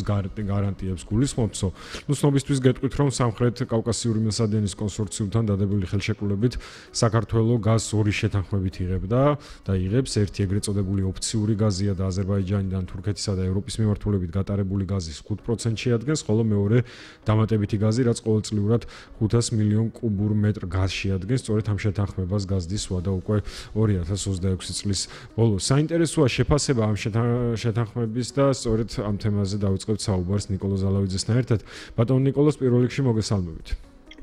გარანტიებს გულისხმობს, ცნობისთვის გეტყვით, რომ სამხრეთ კავკასიური მილსადენის კონსორციუმთან დადებული ხელშეკრულებით საქართველოს გაზს ორი შეთანხმებით იღებდა და იღებს, ერთი ეგრეთ წოდებული ოფციური გაზია და აზერბაიჯანიდან თურქეთისა და ევროპის მიმართულებით გატარებული გაზის 5% შეადგენს, ხოლო მეორე დამატებითი გაზი, რაც ყოველწლიურად 500 მილიონ კუბურ მეტრ გაზს შეადგენს, სწორედ ამ შეთანხმებას გაზდის ვადა უკვე 2026 წლის ბოლოს. საინტერესოა შეფასება ამ შეთანხმების და სწორედ ამ თემაზე დავიწყებთ საუბარს ნიკოლოზ ზალავიძესთან ერთად. ბატონ ნიკოლოზ, პირველ რიგში მოგესალმებით.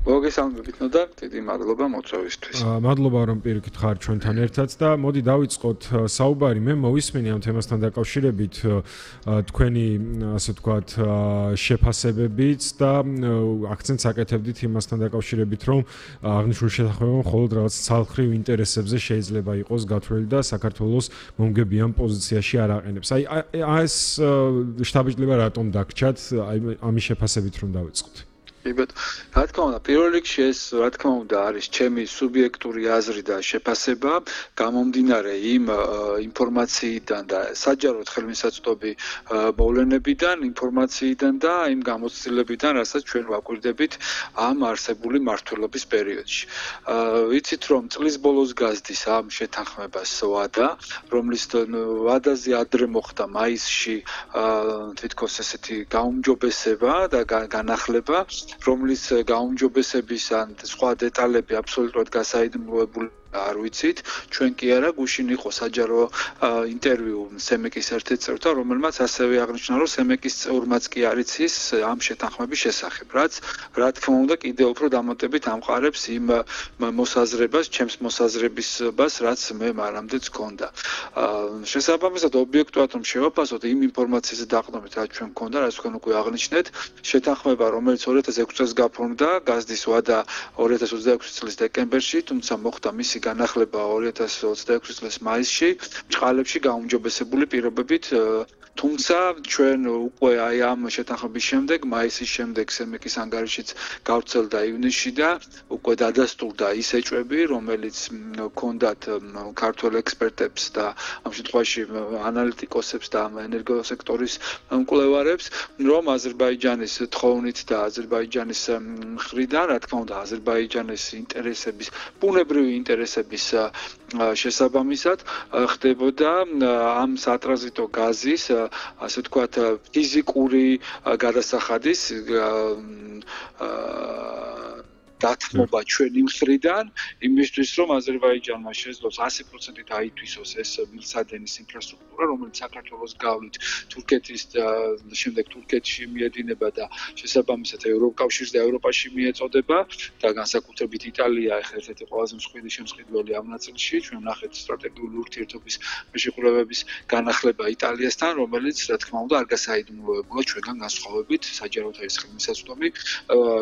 მოგესალმებით და დიდი მადლობა მოწვევისთვის. მადლობა რომ პირიქით ხარ ჩვენთან ერთად და მოდი დავიწყოთ საუბარი. მე მოვისმენი ამ თემასთან დაკავშირებით თქვენი ასე ვთქვათ შეფასებებით და აქცენტს აკეთებდით იმასთან დაკავშირებით, რომ აღნიშნული შეთანხმება მხოლოდ რაღაც ცალკრივ ინტერესებზე შეიძლება იყოს გათვლილი და საქართველოს მომგებიან პოზიციაში არ აყენებს. ეს შთაბეჭდილება რატომ დაგჭათ? ამის შეფასებით რომ დავიწყოთ. რა თქმა უნდა, პირველ რიგში ეს რა თქმა უნდა არის ჩემი სუბიექტური აზრი და შეფასება, გამომდინარე იმ ინფორმაციიდან და საჯაროდ ხელმისაწვდომი მოვლენებიდან, ინფორმაციიდან და იმ გამოცდილებიდან, რასაც ჩვენ ვაკვირდებით ამ არსებული მმართველობის პერიოდში. ვიცით, რომ წლის ბოლოს გაზდის ამ შეთანხმებას ვადა, რომლის ვადაზე ადრე მოხდა მაისში თითქოს ესეთი გაუმჯობესება და განახლება, რომლის გაუმჯობესების ან სხვა დეტალები აბსოლუტურად გასაიდუმლოებული არ ვიცით, ჩვენ კი არა, გუშინ იყო საჯარო ინტერვიუ სემეკის ერთ-ერთ წევრთან, რომელმაც ასევე აღნიშნა, რომ სემეკის წევრმაც კი არ იცის ამ შეთანხმების შესახებ, რაც რა თქმა უნდა კიდევ უფრო დამატებით ამყარებს იმ მოსაზრებას, ჩემს მოსაზრებისობას, რაც მე მანამდეც გქონდა. შესაბამისად, ობიექტურად რომ შევაფასოთ იმ ინფორმაციაზე დაყრდნობით, რაც ჩვენ გქონდა, რაც თქვენ უკვე აღნიშნეთ, შეთანხმება, რომელიც 2006 წელს გაფორმდა, გაზდის ვადა 2026 წლის დეკემბერში, თუმცა მოხდა მისი განახლება 2026 წლის მაისში, ჭყალებში გაუმჯობესებული პირობებით, თუმცა ჩვენ უკვე აი ამ შეთანხმების შემდეგ, მაისის შემდეგ სემეკის ანგარიშიც გავრცელდა ივნისში და უკვე დადასტურდა ის ეჭვები, რომელიც ჰქონდათ ქართველ ექსპერტებს და ამ შემთხვევაში ანალიტიკოსებს და ენერგოსექტორის მკვლევარებს, რომ აზერბაიჯანის თხოვნით და აზერბაიჯანის მხრიდან, რა თქმა უნდა, აზერბაიჯანის ინტერესების, ბუნებრივი ინტერესების შესაბამისად ხდებოდა ამ სატრანზიტო გაზის ასე ვთქვათ ფიზიკური გადასახადის დათმობა ჩვენი მხრიდან იმისთვის, რომ აზერბაიჯანმა შეძლოს 100% აითვისოს ეს მილსადენის ინფრასტრუქტურა, რომელიც საქართველოს გავლით თურქეთის შემდეგ თურქეთში მიედინება და შესაბამისად ევროკავშირს და ევროპაში მიეწოდება და განსაკუთრებით იტალია ერთ-ერთი ყველაზე მსხვილი შემსყიდველი ამ ნაწილში, ჩვენ ვნახეთ სტრატეგიული ურთიერთობის მეშეკრულებების განახლება იტალიასთან, რომელიც რა თქმა უნდა არ გასაიდუმლოებულა ჩვენგან განსხვავებით, საჯაროდ არის ხელმისაწვდომი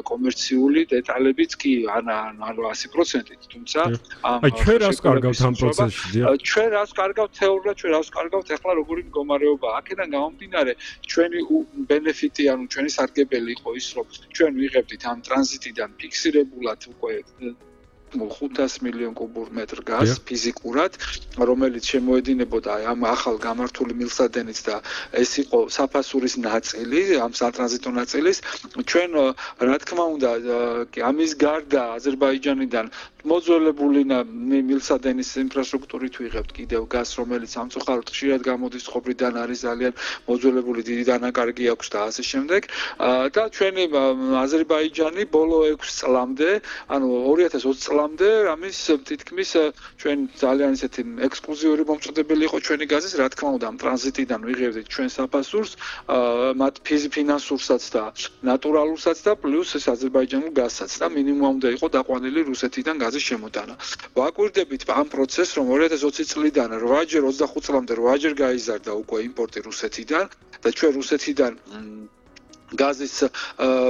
კომერციული დეტალები კი არა 100%-ით, თუმცა ჩვენ რას კარგავთ ამ პროცესში? ჩვენ რას კარგავთ თეორიულად, ჩვენ რას კარგავთ ახლა როგორი მდგომარეობაა. აქედან გამომდინარე, ჩვენი ბენეფიტი, ანუ ჩვენი სარგებელი იყო ის, რომ ჩვენ ვიღებდით ამ ტრანზიტიდან ფიქსირებულად უკვე 500 მილიონ კუბურ მეტრ გაზს ფიზიკურად, რომელიც შემოედინებოდა ამ ახალ გამართული მილსადენით და ეს იყო საფასურის ნაწილი, ამ სატრანზიტო ნაწილის. ჩვენ რა თქმა უნდა, ამის გარდა აზერბაიჯანიდან მოძველებული მილსადენის ინფრასტრუქტურით ვიღებთ კიდევ გაზს, რომელიც სამწუხაროდ ხშირად გამოდის ხრიდან, არის ძალიან მოძველებული, დიდი დანაკარგი აქვს და ასე შემდეგ. და ჩვენი აზერბაიჯანი ბოლო 6 წლამდე, ანუ 2020 წლამდე, ამის თითქმის ჩვენ ძალიან ესეთი ექსკლუზიური მომწოდებელი იყო ჩვენი გაზის, რა თქმა უნდა, ამ ტრანზიტიდან ვიღებდით ჩვენ საფასურს, მათ ფინანსურსაც და ნატურალურსაც და პლუს ეს აზერბაიჯანულ გაზსაც და მინიმუმამდე იყო დაყვანილი რუსეთიდან გაზის შემოტანა. ვაკვირდებით ამ პროცესს, რომ 2020 წლიდან 8-ჯერ 25 წლამდე 8-ჯერ გაიზარდა უკვე იმპორტი რუსეთიდან და ჩვენ რუსეთიდან გაზის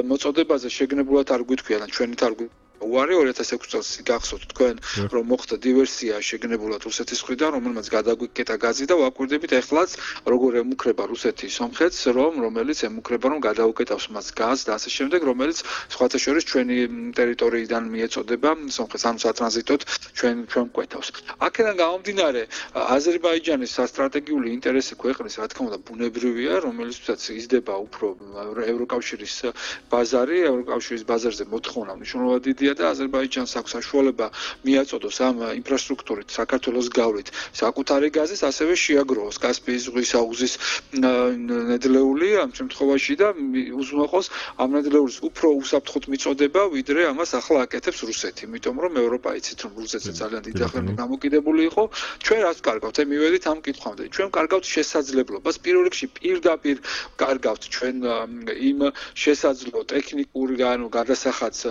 მოწოდებაზე შეგნებულად არ გვითქვია და ჩვენით არ უარი 2006 წელს გახსოვთ თქვენ რომ მოხდა დივერსია შეგნებულად რუსეთის მხრიდან რომელმაც გადაგვიკეტა გაზი და ვაკვირდებით ეხლაც როგორ ემუქრება რუსეთი სომხეთს რომელიც ემუქრება რომ გადაუკეტავს მას გაზს და ასე შემდეგ რომელიც სხვათა შორის ჩვენი ტერიტორიიდან მიეწოდება სომხეთს ანუ სატრანზიტოდ ჩვენ მკვეთავს აქედან გამომდინარე აზერბაიჯანის სტრატეგიული ინტერესი ქვეყნის რა თქმა უნდა ბუნებრივია რომელიცაც იზრდება უფრო ევროკავშირის ბაზარი ევროკავშირის ბაზარზე მოთხოვნა მნიშვნელოვნად დიდია და აზერბაიჯანს აქვს საშუალება მიაწოდოს ამ ინფრასტრუქტურით საქართველოს გავლით საკუთარი გაზის ასევე შეაგროვოს კასპიის ზღვის აუზის ნედლეული ამ შემთხვევაში და უზრუნველყოს ამ ნედლეულის უფრო უსაფრთხოდ მიწოდება ვიდრე ამას ახლა აკეთებს რუსეთი იმიტომ რომ ევროპა იცით რომ რუსეთზე ძალიან დიდი ახლა გამოკიდებული იყო ჩვენ რაც კარგავთ მივედით ამ კითხვამდე ჩვენ კარგავთ შესაძლებლობას პირველ რიგში პირდაპირ კარგავთ ჩვენ იმ შესაძლო ტექნიკური ანუ გადასახადს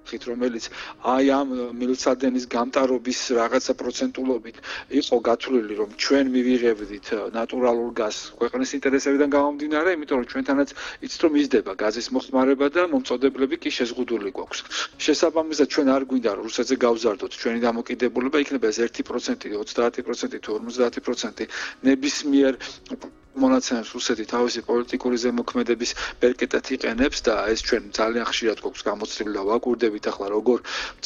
რომელიც აი ამ მილსადენის გამტარობის რაღაცა პროცენტულობით იყო გათვლილი რომ ჩვენ მივიღებდით ნატურალურ გაზს ქვეყნის ინტერესებიდან გამომდინარე იმიტომ რომ ჩვენთანაც იცით რომ იზრდება გაზის მოხმარება და მომწოდებლები კი შეზღუდული გვაქვს შესაბამისად ჩვენ არ გვინდა რომ რუსეთზე გავზარდოთ ჩვენი დამოკიდებულება იქნება ეს 1% 30% თუ 50% ნებისმიერ მონაცემებს რუსეთი თავისი პოლიტიკური ზემოქმედების ბერკეტად იყენებს და ეს ჩვენ ძალიან ხშირად გვაქვს გამოცდილება და ვაკვირდებით ახლა როგორ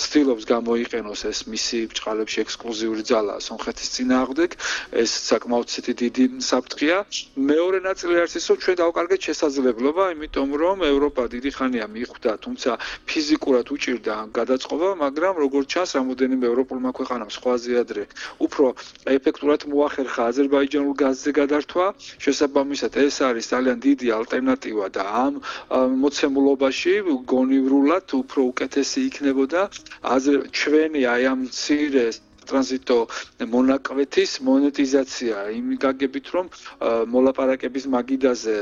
ცდილობს გამოიყენოს ეს მისი ბჭყალებში ექსკლუზიური ძალა სომხეთის წინააღმდეგ ეს საკმაოდ დიდი საფრთხეა მეორე ნაწილი არის ის რომ ჩვენ დავკარგეთ შესაძლებლობა იმიტომ რომ ევროპა დიდი ხანია მიხვდა თუმცა ფიზიკურად უჭირდა გადაწყობა მაგრამ როგორც ჩანს რამოდენიმე ევროპულმა ქვეყანამ სხვაზე ადრე უფრო ეფექტურად მოახერხა აზერბაიჯანულ გაზზე გადართვა შესაბამისად ეს არის ძალიან დიდი ალტერნატივა და ამ მოცემულობაში გონივრულად უფრო უკეთესი იქნებოდა ჩვენი აი ამ მცირე ტრანზიტო მონაკვეთის მონეტიზაცია იმ გაგებით რომ მოლაპარაკების მაგიდაზე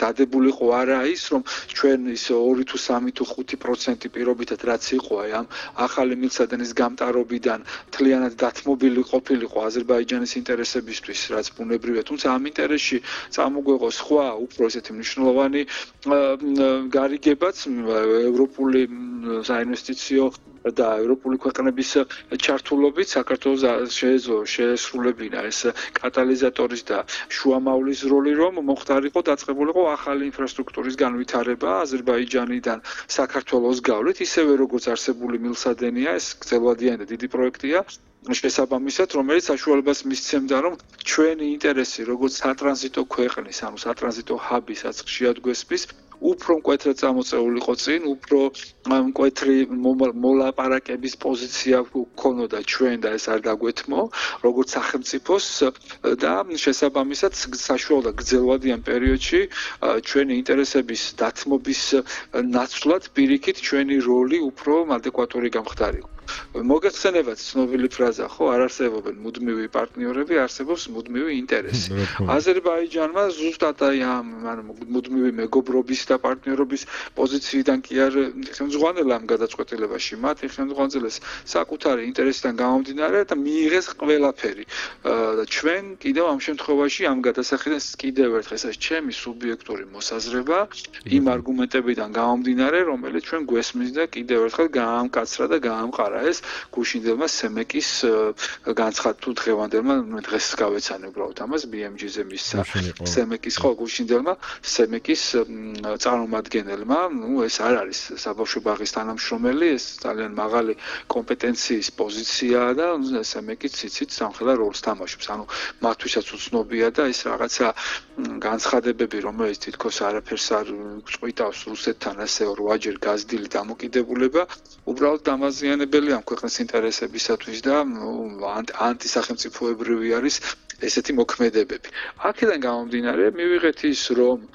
დადებულიყო არა ის რომ ჩვენ ის 2 თუ 3 თუ 5% პირობითად რაც იყო აი ამ ახალი მილსადენის გამტარობიდან თლიანად დათმობილი ყოფილიყო აზერბაიჯანის ინტერესებისთვის რაც ბუნებრივია თუმცა ამ ინტერესში წამოგვეღო სხვა უფრო ესეთი მნიშვნელოვანი გარიგებაც ევროპული საინვესტიციო და ევროპული ქვეყნების ჩართულობით საქართველოს შეეძლო შეესრულებინა ეს კატალიზატორის და შუამავლის როლი რომ მოხდარიყო დაწყებულიყო ახალი ინფრასტრუქტურის განვითარება აზერბაიჯანიდან საქართველოს გავლით ისევე როგორც არსებული მილსადენია ეს გრძელვადიანი და დიდი პროექტია შესაბამისად რომელიც საშუალებას მისცემდა რომ ჩვენი ინტერესი როგორც სატრანზიტო ქვეყნის ანუ სატრანზიტო ჰაბისაც შეადგესვის უფრო მკვეთრად წამოწეულიყო წინ, უფრო მკვეთრი მოლაპარაკების პოზიცია გქონოდა ჩვენ და ეს არ დაგვეთმო, როგორც სახელმწიფოს და შესაბამისად საშუალო გრძელვადიან პერიოდში ჩვენი ინტერესების დათმობის ნაცვლად პირიქით ჩვენი როლი უფრო ადეკვატური გამხდარიყო. მოგეხსენებათ ცნობილი ფრაზა, ხო, არ არსებობენ მუდმივი პარტნიორები, არსებობს მუდმივი ინტერესი. აზერბაიჯანმა ზუსტად აი ამ მუდმივი მეგობრობის და პარტნიორობის პოზიციიდან კი არ ხელმძღვანელა ამ გადაწყვეტილებაში, მათ ხელმძღვანელს საკუთარი ინტერესიდან გამომდინარე და მიიღეს ყველაფერი. ჩვენ კიდევ ამ შემთხვევაში ამ გადასახედან კიდევ ერთხელ ეს ჩემი სუბიექტური მოსაზრება იმ არგუმენტებიდან გამომდინარე, რომელიც ჩვენ გვესმის და კიდევ ერთხელ გაამკაცრა და გაამყარა ეს გუშინდელმა სემეკის განცხადა თუ დღევანდელმა დღეს გავეცანი უბრალოდ ამას BMG-ზე მისცა სემეკის ხო გუშინდელმა სემეკის წარმომადგენელმა ეს არ არის საბავშვო ბაღის თანამშრომელი ეს ძალიან მაღალი კომპეტენციის პოზიციაა და სემეკიც იცით სამხედრო როლს თამაშობს ანუ მათთვისაც უცნობია და ეს რაღაცა განცხადებები რომელიც თითქოს არაფერს არ წყვიტავს რუსეთთან ასე 8-ჯერ გაზრდილი დამოკიდებულება უბრალოდ დამაზიანებელი ამ ქვეყნის ინტერესებისათვის და ანტისახელმწიფოებრივი არის ესეთი მოქმედებები. აქედან გამომდინარე მივიღეთ ის რომ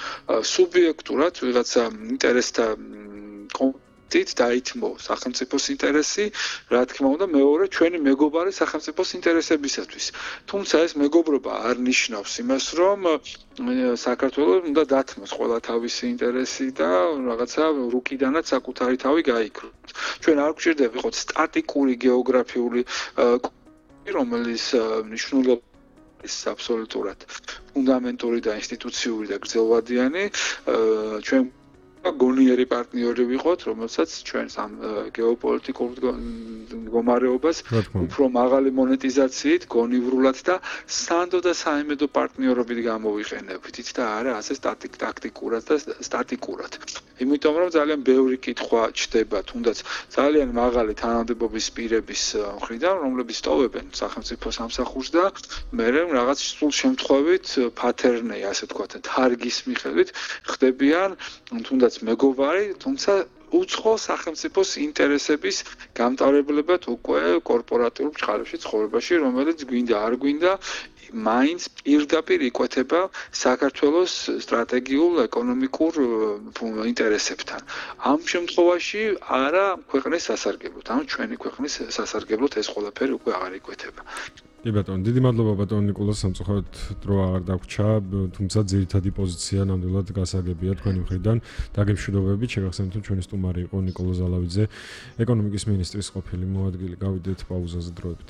სუბიექტურად ვიღაცა ინტერესთა დაითმო სახელმწიფოს ინტერესი, რა თქმა უნდა, მეორე ჩვენი მეგობარი სახელმწიფოს ინტერესებისათვის. თუმცა ეს მეგობრობა არ ნიშნავს იმას, რომ საქართველოს უნდა დათმოს ყველა თავისი ინტერესი და რაღაცა რუკიდანაც საკუთარი თავი გაიქროს. ჩვენ არ გვჭირდება ვიყოთ სტატიკური გეოგრაფიული რომელიც მნიშვნელობა ის აბსოლუტურად ფუნდამენტური და ინსტიტუციური და გრძელვადიანი ჩვენ გონიერი პარტნიორი ვიყოთ, რომელსაც ჩვენს ამ გეოპოლიტიკურ მდგომარეობას უფრო მაღალი მონეტიზაციით, გონივრულად და სანდო და საიმედო პარტნიორობით გამოვიყენებთ, და არა ასე ტაქტიკურად და სტატიკურად. იმიტომ რომ ძალიან ბევრი კითხვა ჩდება, თუნდაც ძალიან მაღალი თანამდებობის პირების მხრიდან, რომლებიც ტოვებენ სახელმწიფო სამსახურს და მე რაღაც სულ შემთხვევით pattern-ი, ასე ვთქვათ, თარგის მიხედვით ხდებიან თუნდაც მეგობარი, თუმცა უცხო სახელმწიფოს ინტერესების გამტარებლებად უკვე კორპორატიულ ჩხარებში ცხოვრებაში, რომელიც გვინდა არ გვინდა მაინც პირდაპირ იკვეთება საქართველოს სტრატეგიულ ეკონომიკურ ინტერესებთან. ამ შემთხვევაში არა ქვეყნის სასარგებლოდ, ანუ ჩვენი ქვეყნის სასარგებლოდ ეს ყველაფერი უკვე აღარ იკვეთება. კი ბატონო, დიდი მადლობა ბატონო ნიკოლოზ, სამწუხაროდ დრო აღარ დაგვრჩა, თუმცა ძირითადი პოზიცია ნამდვილად გასაგებია თქვენი მხრიდან. დაგემშვიდობებით, შეგახსენებთ, რომ ჩვენი სტუმარი იყო ნიკოლოზ ალავიძე, ეკონომიკის მინისტრის ყოფილი მოადგილე. გავიდეთ პაუზაზე დროებით.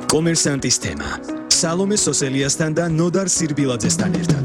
კომერსანტის თემა. სალომე სოსელიასთან და ნოდარ სირბილაძესთან ერთად.